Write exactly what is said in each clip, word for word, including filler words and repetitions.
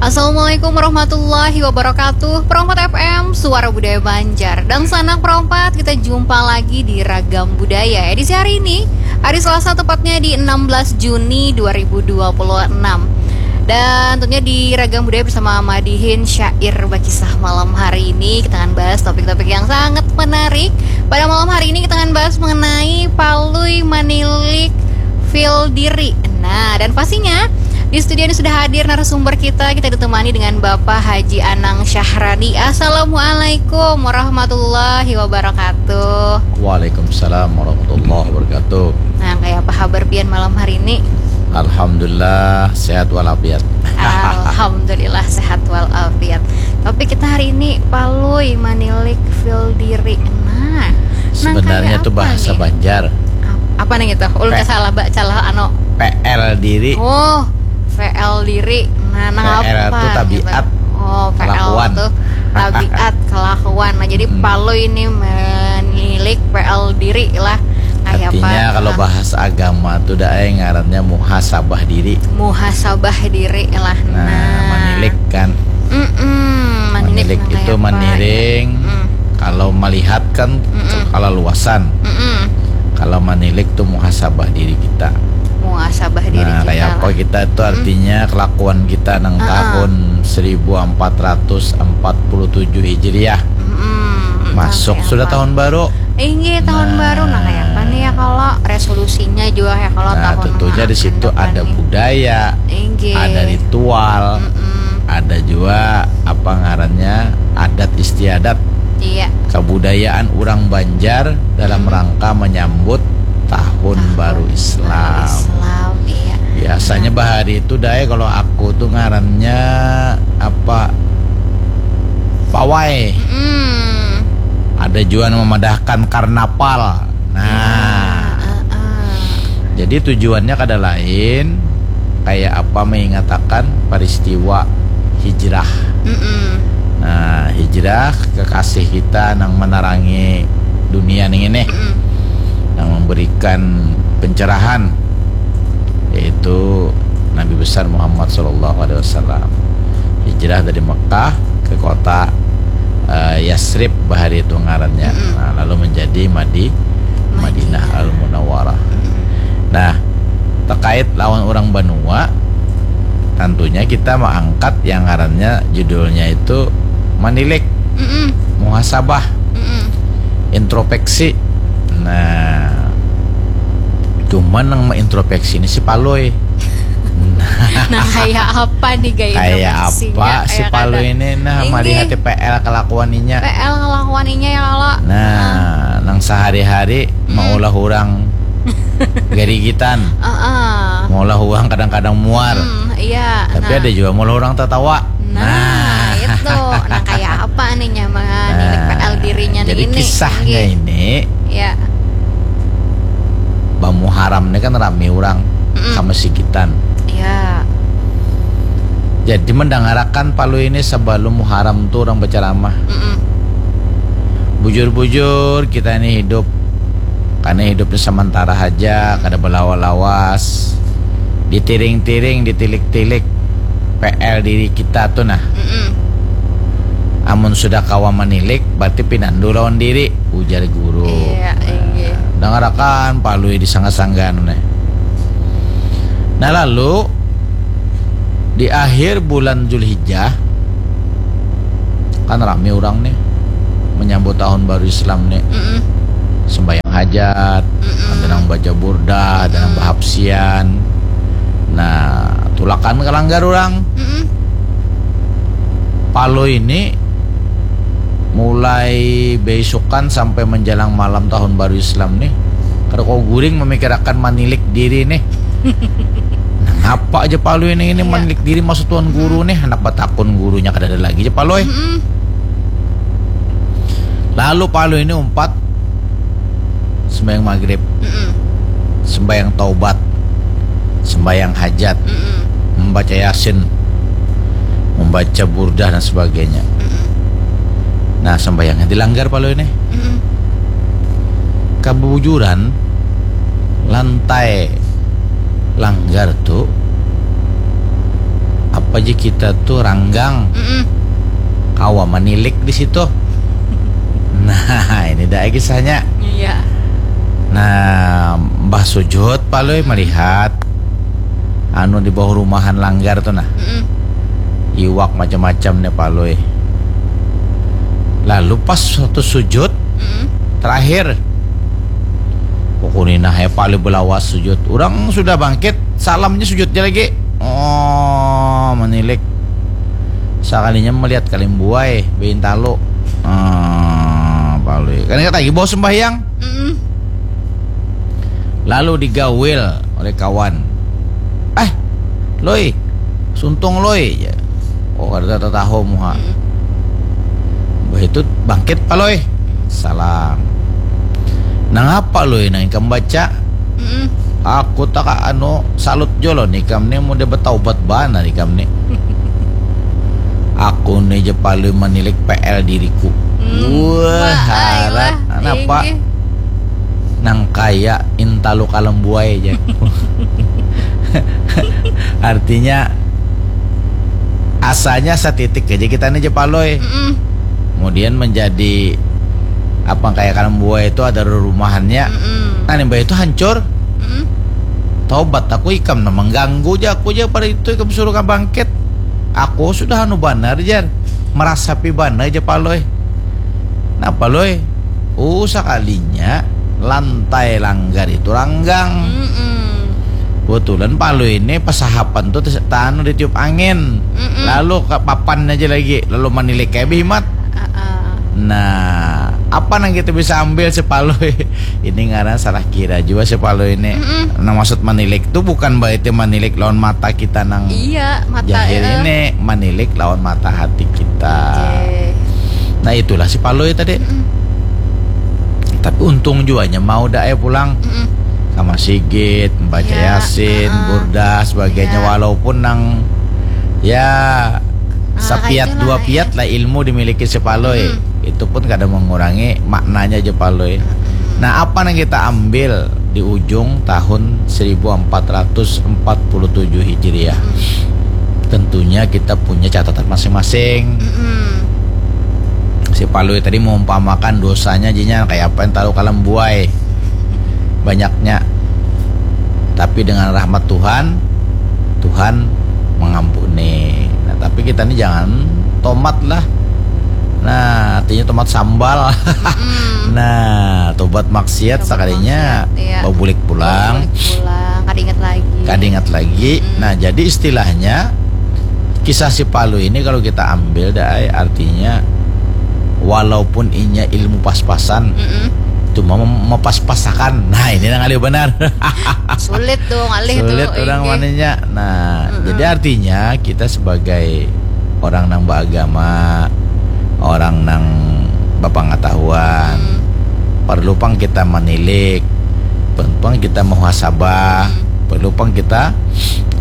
Assalamualaikum warahmatullahi wabarakatuh. Perompat F M, Suara Budaya Banjar. Dan sanak perompat, kita jumpa lagi di Ragam Budaya edisi hari ini, hari Selasa, tepatnya di enam belas Juni dua ribu dua puluh enam. Dan tentunya di Ragam Budaya bersama Madihin, syair bakisah malam hari ini, kita akan bahas topik-topik yang sangat menarik. Pada malam hari ini kita akan bahas mengenai palui manilik feel diri. Nah, dan pastinya di studio ini sudah hadir narasumber kita. Kita ditemani dengan Bapak Haji Anang Syahrani. Assalamualaikum warahmatullahi wabarakatuh. Waalaikumsalam warahmatullahi wabarakatuh. Nah, kayak apa kabar pian malam hari ini? Alhamdulillah, sehat walafiat. Alhamdulillah, sehat walafiat. Tapi kita hari ini palui manilik feel diri. Nah, nang sebenarnya kayak tuh apa bahasa nih? Banjar. Ap-, apa nih gitu? Ulun Pe- kasalah baca lah, anu. P L diri. Oh, P L diri. Nah, nah, P L apa tuh tabiat, gitu? Oh, P L kelakuan. Tuh tabiat, kelakuan. Nah, jadi Mm-mm. palui ini menilik P L diri lah. Kayak artinya apa? Kalau bahasa agama tuh dah, eh, ngarannya muhasabah diri. Muhasabah diri lah. Nah, nah, manilik kan. Mm-mm, manilik. Manilik nah, itu kayak apa, maniring. Ya? Mm. Kalau melihat kan Mm-mm. kalaluasan. Mm-mm. Kalau manilik tuh muhasabah diri kita. Muhasabah diri nah, kita kayak apa lah. Kita tuh mm-mm. Artinya kelakuan kita nang uh-uh. Tahun seribu empat ratus empat puluh tujuh Hijriah. Mm-mm. Masuk nah, sudah apa? Tahun baru. Inggih, tahun nah. Baru. Nah, kayak apa nih ya kalau resolusinya juga ya kalau nah, tahun tentunya di situ ada nih. Budaya, inggih. Ada ritual, mm-mm. Ada juga apa ngarannya adat istiadat. Iya. Kebudayaan orang Banjar dalam hmm. Rangka menyambut tahun, tahun baru Islam. Islam, iya. Biasanya nah. Bahari itu dai kalau aku tuh ngarannya apa pawai. Mm-mm. Ada juga yang memadahkan karnaval. Nah, ya, uh, uh. Jadi tujuannya kada lain kayak apa mengingatakan peristiwa hijrah. Mm-mm. Nah, hijrah kekasih kita nang menerangi dunia nih ini, mm-mm. Nang memberikan pencerahan yaitu Nabi besar Muhammad sallallahu alaihi wasallam hijrah dari Mekah ke kota uh, Yasrib bahari itu ngarannya. Mm-mm. Nah, lalu menjadi Madi Madinah Al Munawwarah. Mm-mm. Nah, terkait lawan orang banua, tentunya kita mengangkat yang ngarannya judulnya itu manilik, mm-mm. Muhasabah, mm-mm. Introspeksi. Nah, cuman yang mengintrospeksi ini si Palui. Nah, kayak apa nih gaya kayak apa si Palui ini nah melihat P L kelakuaninya. P L kelakuaninya ya kalau. Nah, nah. Nang sehari-hari hmm. Maulah orang garigitan. Uh-uh. Maulah orang kadang-kadang muar. Hmm, iya. Tapi nah. Ada juga maulah orang tertawa. Nah, nah. Itu. Nah, kayak apa nih nyaman nah, P L dirinya nih. Jadi ini, kisahnya ini. Ya. Bamuharam ini kan rame orang mm-mm. Sama sigitan. Ya. Jadi mendangarakan Palui ini sebelum Muharam tuh orang berceramah. Mm-mm. Bujur-bujur kita ini hidup karena hidupnya sementara aja, kada belawa-lawas. Ditiring-tiring, ditilik-tilik P L diri kita tuh nah. Mm-mm. Amun sudah kawa manilik, berarti pinandu lawan diri, ujar guru. Iya, iya. Dangarakan Palui disangga-sangga anu nih. Nah, lalu di akhir bulan Zulhijjah kan rame orang nih menyambut tahun baru Islam nih. Mm-mm. Sembahyang hajat, mm-mm. Ada nang baca burdah, ada nang mm-mm. Bahapsian. Nah, tulakan ke langgar orang. Mm-mm. Palui ini mulai beisukan sampai menjelang malam tahun baru Islam nih. Kada kau guring memikirakan manilik diri nih. Nang apa aja Palui ini, ini iya. Manilik diri masuk tuan guru hmm. Nih, anak batakun gurunya kada ada lagi aja Palui. Mm-mm. Lalu Palui ini umpat sembahyang maghrib, mm-mm. Sembahyang taubat, sembahyang hajat, mm-mm. Membaca yasin, membaca burdah dan sebagainya. Mm-mm. Nah, sembahyangnya dilanggar Palui ini. Mm-mm. Kebujuran lantai langgar tu apa Aja kita tuh ranggang, Mm-mm. Kawa manilik di situ. Nah, ini dah kisahnya. Iya. Nah, Mbah Sujud Palui melihat anu di bawah rumahan langgar tuh nah. Mm-mm. Iwak macam-macam nih Palui. Lalu pas waktu sujud, Mm-mm. Terakhir, pokoknya nah ya Palui belawas sujud. Orang sudah bangkit, salamnya sujudnya lagi. Oh, menilik. Sakalinya melihat kalimbuai, bein talu. Ah, Palui. Kan ingat lagi bawa sembahyang. Mm-mm. Lalu digawil oleh kawan. Eh, Loi, suntung Loi. Ya. Oh, ada tataho muha. Mm-mm. Bah itu bangkit Palui. Salam. Nangapa Loi nang ikam baca? Mm-mm. Aku tak anu salut jolo nih ikam nih mudah bertaubat banar ikam nih. Aku nih je Palui menilik P L diriku. Hmm. Wah, harat. Kenapa? Nang kaya intalu kalembuai aja. Artinya asanya setitik aja kita nih je Palui. Mm-mm. Kemudian menjadi apa kaya kalembuai itu ada rumahannya. Mm-mm. Nah, limbah itu hancur. Mm-mm. Taubat aku ikam nah mengganggu aja aku aja pada itu ikam suruh bangkit. Aku sudah anu banar jar. Merasapi banar aja Palui. Nah Palui, uh sakalinya lantai langgar itu ranggang. Mm-mm. Kebetulan Palui ini pasahapan tuh tanu ditiup angin. Mm-mm. Lalu ke papan aja lagi, lalu manilik kayak bihimat. Uh-uh. Nah, apa nang kita bisa ambil si Palui? Ini ngaran salah kira juga si Palui ini. Mm-mm. Nah, maksud manilik tuh bukan berarti manilik lawan mata kita nang iya, mata, jahil eh. Ini manilik lawan mata hati kita. Okay. Nah, itulah si Palui tadi. Mm-mm. Tapi untung juanya mau dah eh pulang. Mm-mm. Sama sigit, membaca ya, yasin, uh-uh. Burdah, sebagainya. Ya. Walaupun nang ya ah, sapiat dua piat lah ilmu dimiliki si Palui. Mm-mm. Itu pun kada mengurangi maknanya je Palui. Mm-mm. Nah, apa yang kita ambil di ujung tahun seribu empat ratus empat puluh tujuh Hijriah? Mm-mm. Tentunya kita punya catatan masing-masing. Mm-mm. Si Palui tadi mengumpamakan dosanya jinya kayak apa yang tahu kalembuai banyaknya. Tapi dengan rahmat Tuhan, Tuhan mengampuni. Nah, tapi kita ini jangan tomat lah. Nah, artinya tomat sambal. Mm-mm. Nah, tobat maksiat tobat sekalinya maksiat, iya. Babulik pulang. Babulik pulang, kada ingat lagi. Kada ingat lagi. Mm-mm. Nah, jadi istilahnya kisah si Palui ini kalau kita ambil dah artinya walaupun inya ilmu pas-pasan, mm-mm, cuma mem-, mepas-pasakan. Nah, ini nang alih benar. Sulit dong alih. Sulit tuh orang ini. Maninya. Nah, mm-mm, jadi artinya kita sebagai orang nang beragama, orang nang berpengetahuan, mm, perlu pang kita menilik, perlu pang kita muhasabah, mm, perlu pang kita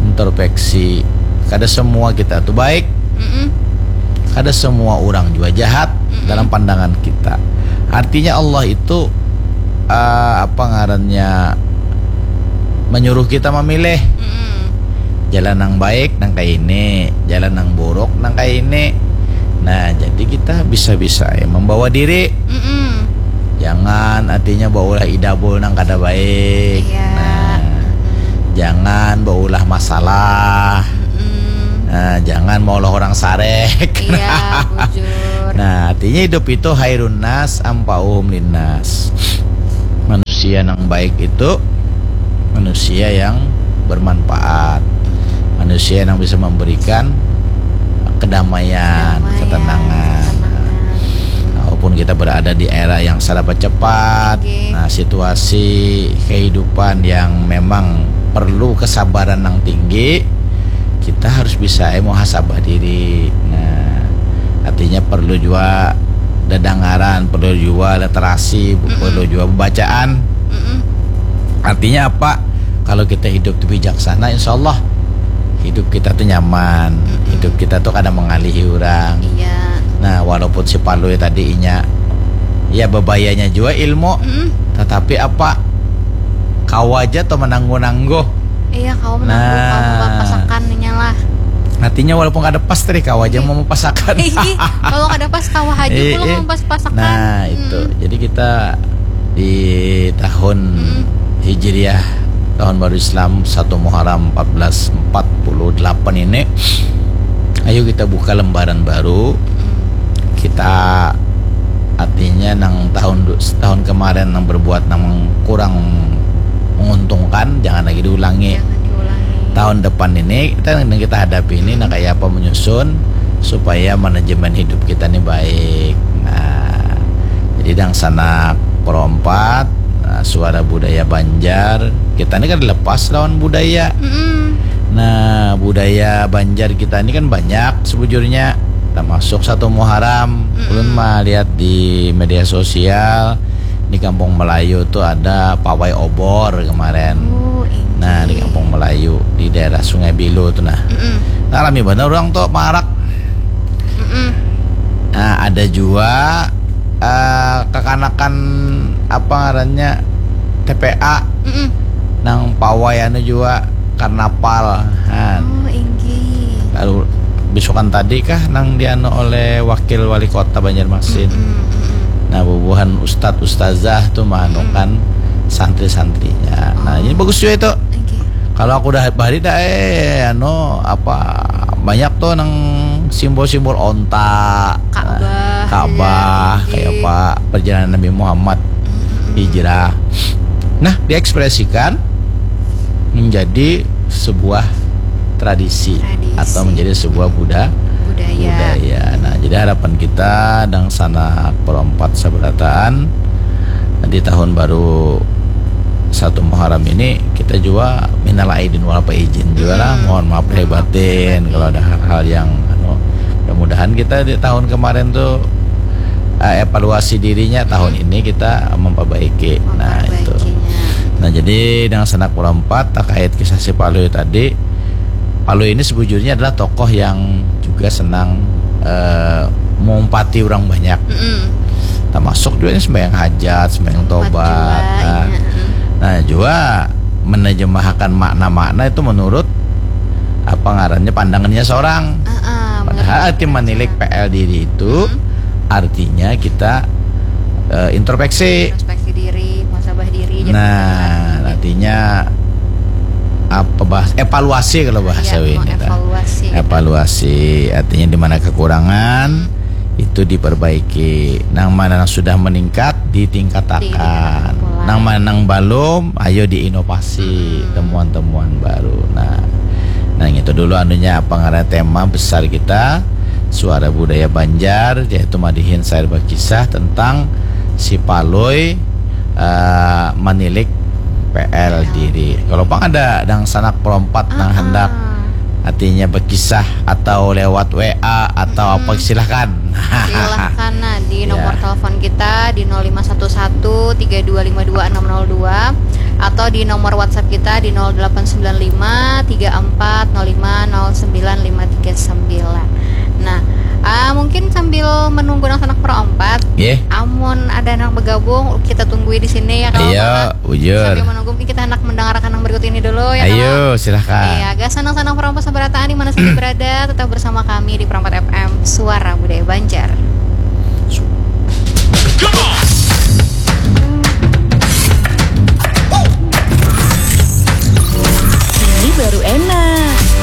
introspeksi. Kada semua kita tuh baik. Mm-mm. Kada semua orang juga jahat, mm-mm, dalam pandangan kita. Artinya Allah itu, eh, apa ngarannya, menyuruh kita memilih. Mm-mm. Jalan yang baik nang kayak ini, jalan yang buruk nang kayak ini. Nah, jadi kita bisa-bisa ya membawa diri. Mm-mm. Jangan artinya baulah idabul nang kada baik. Iya. Nah, jangan baulah masalah. Mm-mm. Nah, jangan maulah orang sarek. Iya, bujur. Nah, artinya hidup itu khairun nas anfa'uhum linnas. Manusia yang baik itu manusia yang bermanfaat. Manusia yang bisa memberikan kedamaian, kedamaian, ketenangan. Ketenangan. Walaupun kita berada di era yang serba cepat, oke, nah, situasi kehidupan yang memang perlu kesabaran yang tinggi, kita harus bisa, eh, muhasabah diri. Nah, artinya perlu juga dedengaran, perlu juga literasi, mm-mm, perlu juga pembacaan. Mm-mm. Artinya apa? Kalau kita hidup itu bijaksana, insya Allah hidup kita tuh nyaman, mm-mm, hidup kita tuh kada mengalihi orang. Iya. Nah, walaupun si Palui tadi inya ya bebayanya juga ilmu, mm-mm, tetapi apa? Kawa aja tuh menangguh-nangguh. Iya, kawa menangguh, nah, kawa membapasakan inya lah. Artinya walaupun kada pas tadi kawa aja mau mepasakan. Ih, kalau kada pas kawa aja Eh, pulang eh. mempas-pasakan. Nah, itu. Jadi kita di tahun Hijriah, tahun baru Islam, satu Muharram empat belas empat puluh delapan ini, ayo kita buka lembaran baru. Kita artinya nang tahun du- tahun kemarin nang berbuat nang kurang menguntungkan, jangan lagi diulangi. Jangan diulangi. Tahun depan ini kita yang kita hadapi ini, nah, kayak apa menyusun supaya manajemen hidup kita ini baik. Nah, jadi dangsanak Pro empat, nah, Suara Budaya Banjar, kita ini kan lepas lawan budaya. Mm-mm. Nah, budaya Banjar kita ini kan banyak sebujurnya, termasuk satu Muharram. Ulun mah lihat di media sosial, di Kampung Melayu tuh ada pawai obor kemarin. Oh, ini. Nah, di Kampung Melayu, di daerah Sungai Bilo tuh, nah. Mm-mm. Nah, rami bener orang tuh marak. Mm-mm. Nah, ada juga eh, kekanakan apa ngarannya, T P A, Mm-mm. nang pawai anu juga karnaval. Nah, Oh, inggih. lalu bisukan tadi kah nang dianu oleh wakil wali kota Banjarmasin. Mm-mm, mm-mm. Nah, bubuhan ustadz ustazah tuh maanukan santri-santrinya. Nah, ini bagus juga itu. Inggih. Kalau aku udah bari dah, eh, anu, apa, banyak tuh nang simbol-simbol onta, Ka'bah, Ka'bah, ya, kayak iya. Apa, perjalanan Nabi Muhammad hijrah. Nah, diekspresikan menjadi sebuah tradisi, Tradisi. Atau menjadi sebuah buda- Budaya. budaya. Nah, jadi harapan kita dangsanak Pro empat sabarataan di tahun baru satu Muharram ini, kita juga minal aidin wal faizin juga lah. Hmm. Mohon maaf lahir batin kalau ada hal-hal yang, anu, mudah-mudahan kita di tahun kemarin tuh eh, evaluasi dirinya, tahun ini kita memperbaiki. Nah, itu. Memperbaikinya. Nah, jadi dangsanak Pro empat terkait kisah si Palui tadi, Palui ini sebujurnya adalah tokoh yang juga senang eh, mengumpati orang banyak. Mm-mm. Termasuk juga ini sembahyang hajat, sembahyang Tobat tobat. juga, Nah, iya, mm. Nah, juga menerjemahkan makna-makna itu menurut apa ngarannya, pandangannya seorang. Ah, ah, Padahal menurut arti menilik pandangan. P L diri itu artinya kita eh, introspeksi. Introspeksi diri, muhasabah diri. Nah, artinya apa bahas, evaluasi kalau bahasa Iya, ini kan. Evaluasi. Evaluasi artinya di mana kekurangan itu diperbaiki. Nang mana yang sudah meningkat ditingkatakan. Ditingkatakan pula. Nang mana yang belum, ayo diinovasi, temuan-temuan baru. Nah, nah itu dulu anunya apa ngaran tema besar kita Suara Budaya Banjar, yaitu madihin sair berkisah tentang si Palui eh, menilik P L diri. Kalau pang ada dangsanak Pro empat nang Ah, hendak ah. artinya berkisah atau lewat W A atau apa, silahkan. Silahkan, nah, di Ya. Nomor telepon kita di nol lima satu satu tiga dua lima dua enam nol dua atau di nomor WhatsApp kita di nol delapan sembilan lima tiga empat nol lima nol sembilan lima tiga sembilan. Nah, ah, mungkin sambil menunggu dangsanak Pro empat, Nggih. Amun ada nang bergabung, kita tunggui di sini ya, kalau Iya, Bapak. bujur. Sambil menunggu, mungkin kita hendak mendengarkan yang berikut ini dulu ya, Ayo, kalau. Silahkan. Iya, gasan dangsanak Pro empat sabarataan di mana saja berada, tetap bersama kami di Pro empat F M, Suara Budaya Banjar.